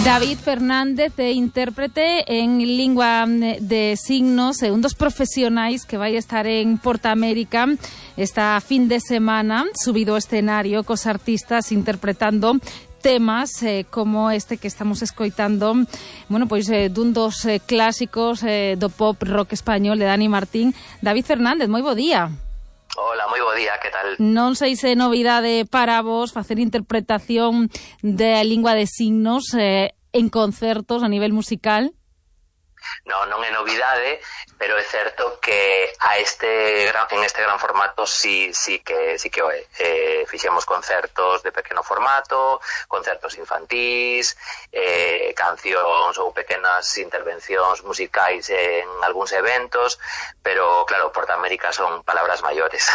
David Fernández é intérprete en lingua de signos, un dos profesionais que vai estar en Portamérica esta fin de semana, subido ao escenario cos artistas interpretando temas como este que estamos escoitando, bueno, pois dun dos clásicos do pop rock español de Dani Martín. David Fernández, moi bo día. Hola, moi bo día, que tal? Non sei se é novidade para vos facer interpretación de lingua de signos en concertos a nivel musical. Non é novidade, pero é certo que en este gran formato sí que o é. Fixemos concertos de pequeno formato, concertos infantís, cancións ou pequenas intervencións musicais en algúns eventos, pero claro, Portamérica son palabras maiores.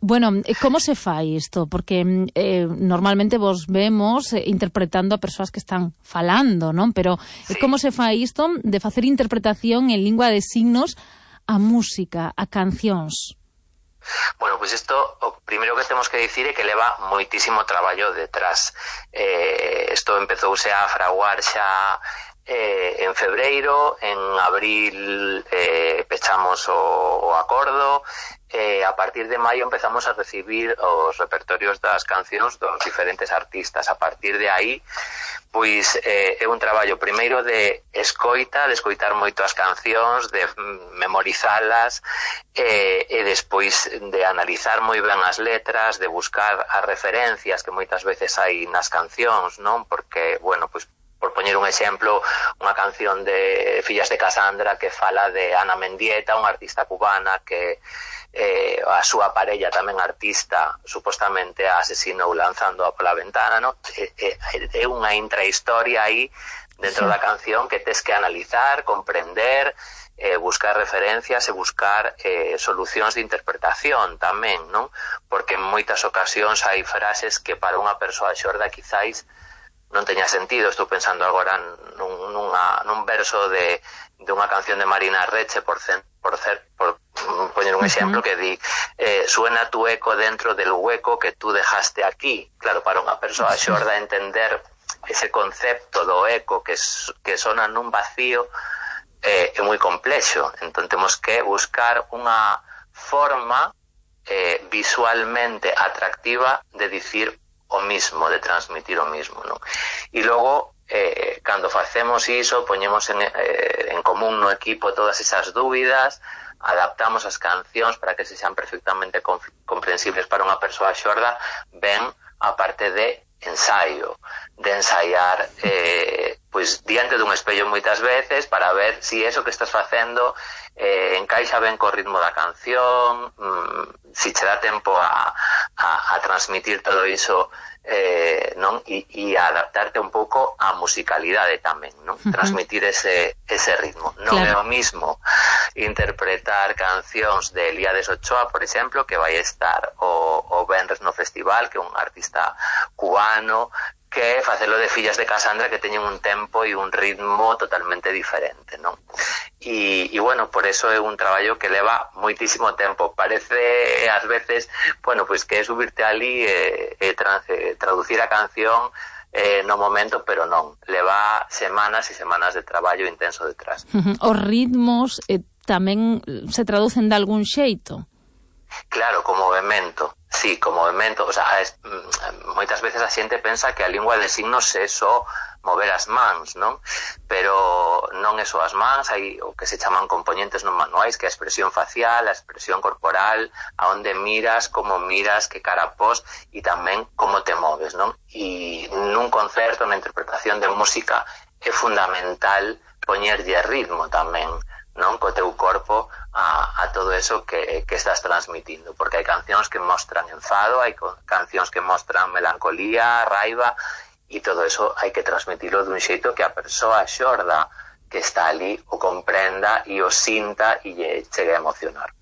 Bueno, como se fai isto? Porque normalmente vos vemos interpretando a persoas que están falando, non? Pero sí. Como se fai isto de facer interpretación en lingua de signos a música, a cancións? Bueno, pois isto, o primeiro que temos que dicir é que leva moitísimo traballo detrás. Isto empezouse a fraguar xa en febreiro, en abril pechamos o acordo, a partir de maio empezamos a recibir os repertorios das cancións dos diferentes artistas. A partir de aí, pois é un traballo primeiro de escoitar moito as cancións, de memorizalas, e despois de analizar moi ben as letras, de buscar as referencias que moitas veces hai nas cancións, non? Porque, bueno, pois por poñer un exemplo, unha canción de Fillas de Casandra que fala de Ana Mendieta, unha artista cubana que a súa parella tamén artista supostamente a asesinou lanzándoa pola ventana, no? É unha intrahistoria aí dentro da canción que tes que analizar, comprender, buscar referencias e buscar solucións de interpretación tamén, non? Porque en moitas ocasións hai frases que para unha persoa xorda quizáis non teña sentido. Estou pensando agora nun verso de unha canción de Marina Reche, por poñer un exemplo, que di suena tu eco dentro del hueco que tú dejaste aquí. Claro, para unha persoa xorda entender ese concepto do eco que sona nun vacío é moi complexo. Entón temos que buscar unha forma visualmente atractiva de dicir o mismo, de transmitir o mismo, non? E logo, cando facemos iso, poñemos en común no equipo todas esas dúbidas, adaptamos as cancións para que se sean perfectamente comprensibles para unha persoa xorda, ben a parte de ensaio, de ensaiar pois diante dun espello moitas veces para ver si eso que estás facendo encaixa ben co ritmo da canción, si che dá tempo a transmitir todo iso, non? E a adaptarte un pouco á musicalidade tamén, non? Transmitir ese ritmo. Non é o mismo interpretar cancións de Elíades Ochoa, por exemplo, que vai estar o venres no festival, que é un artista cubano, que facelo de Fillas de Casandra, que teñen un tempo e un ritmo totalmente diferente, non? E bueno, por eso é un traballo que leva moitísimo tempo. Parece ás veces, bueno, pois que é subirte ali e traducir a canción no momento, pero non. Leva semanas e semanas de traballo intenso detrás. Os ritmos tamén se traducen de algún xeito? Claro, como movimento. Sí, como movimento. O sea, moitas veces a xente pensa que a lingua de signos é só mover as mans, non? Pero non é só as mans, hai o que se chaman componentes non manuais, que é a expresión facial, a expresión corporal, a onde miras, como miras, que cara pos, e tamén como te moves, non? E nun concerto, na interpretación de música, é fundamental poñerlle ritmo tamén, non? Co teu corpo a todo eso que estás transmitindo, porque hai cancións que mostran enfado, hai cancións que mostran melancolía, raiva, e todo eso hai que transmitilo dun xeito que a persoa xorda que está ali o comprenda e o sinta e lle chegue a emocionar.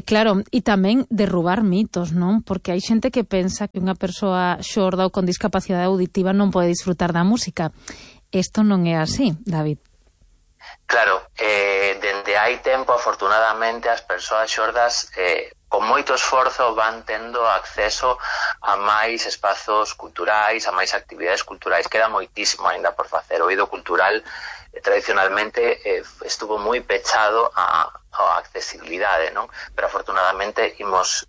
Claro, e tamén derrubar mitos, non? Porque hai xente que pensa que unha persoa xorda ou con discapacidade auditiva non pode disfrutar da música. Isto non é así, David. Claro, dende hai tempo, afortunadamente, as persoas xordas con moito esforzo van tendo acceso a máis espazos culturais, a máis actividades culturais. Queda moitísimo aínda por facer. O eido cultural tradicionalmente estuvo moi pechado á accesibilidade, non? Pero afortunadamente imos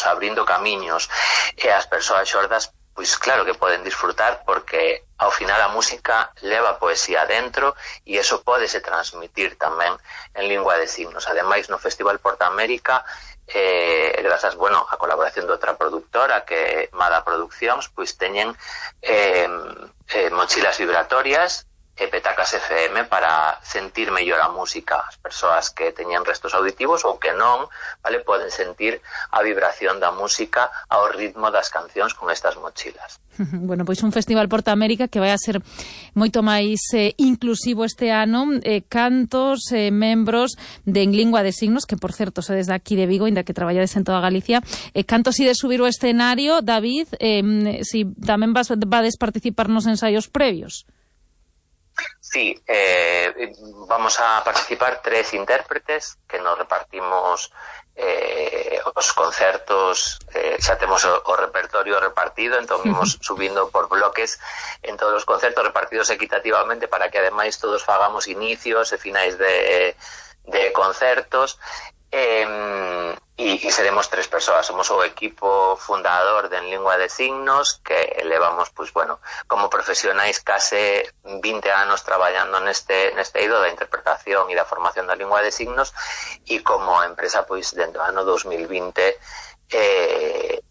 abrindo camiños, e as persoas xordas pois claro que poden disfrutar, porque ao final a música leva poesía dentro e iso pódese transmitir tamén en lingua de signos. Ademais, no Festival Portamérica, grazas, a colaboración de outra productora, que é Mada Produccións, pois teñen mochilas vibratorias e petacas FM para sentir mellor a música. As persoas que teñen restos auditivos ou que non, vale, poden sentir a vibración da música ao ritmo das cancións con estas mochilas. Bueno, pois un Festival Portamérica que vai a ser moito máis inclusivo este ano. Cantos, membros de En Lingua de Signos, que por certo sodes de aquí de Vigo, ainda que traballades en toda Galicia. Cantos ides subir o escenario, David, si tamén vades participar nos ensaios previos. Sí, vamos a participar 3 intérpretes que nos repartimos os concertos. Xa temos o repertorio repartido, entón imos subindo por bloques en todos os concertos, repartidos equitativamente, para que ademais todos fagamos inicios e finais de concertos. E seremos 3 persoas. Somos o equipo fundador de En Lingua de Signos, que levamos, como profesionais case 20 anos traballando neste eido da interpretación e da formación da lingua de signos, e como empresa, dentro do ano 2020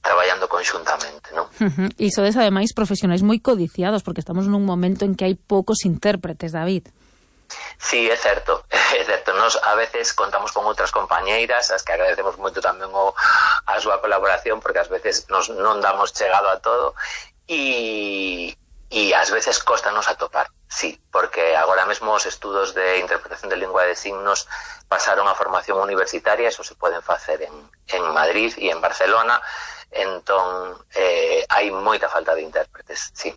traballando conxuntamente, non? E sodes ademais profesionais moi codiciados, porque estamos nun momento en que hai poucos intérpretes, David. Sí, é certo. Nos a veces contamos con outras compañeiras, as que agradecemos moito tamén a súa colaboración, porque ás veces nos non damos chegado a todo, e ás veces costanos atopar, sí, porque agora mesmo os estudos de interpretación de lingua de signos pasaron a formación universitaria, eso se poden facer en Madrid e en Barcelona, entón hai moita falta de intérpretes, sí.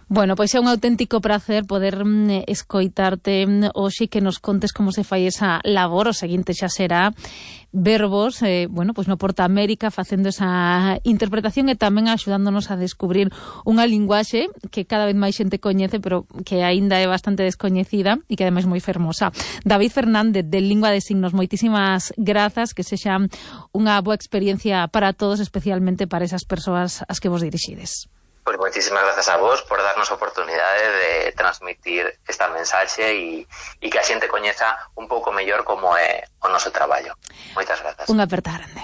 Bueno, pois é un auténtico prazer poder escoitarte hoxe, que nos contes como se fai esa labor. O seguinte xa será vervos, pois no Portamérica facendo esa interpretación e tamén axudándonos a descubrir unha linguaxe que cada vez máis xente coñece, pero que aínda é bastante descoñecida e que ademais moi fermosa. David Fernández, de Lingua de Signos, moitísimas grazas, que sexa unha boa experiencia para todos, especialmente para esas persoas ás que vos dirixides. Pois moitísimas grazas a vos por darnos a oportunidade de transmitir esta mensaxe e que a xente coñeza un pouco mellor como é o noso traballo. Moitas grazas. Unha aperta grande.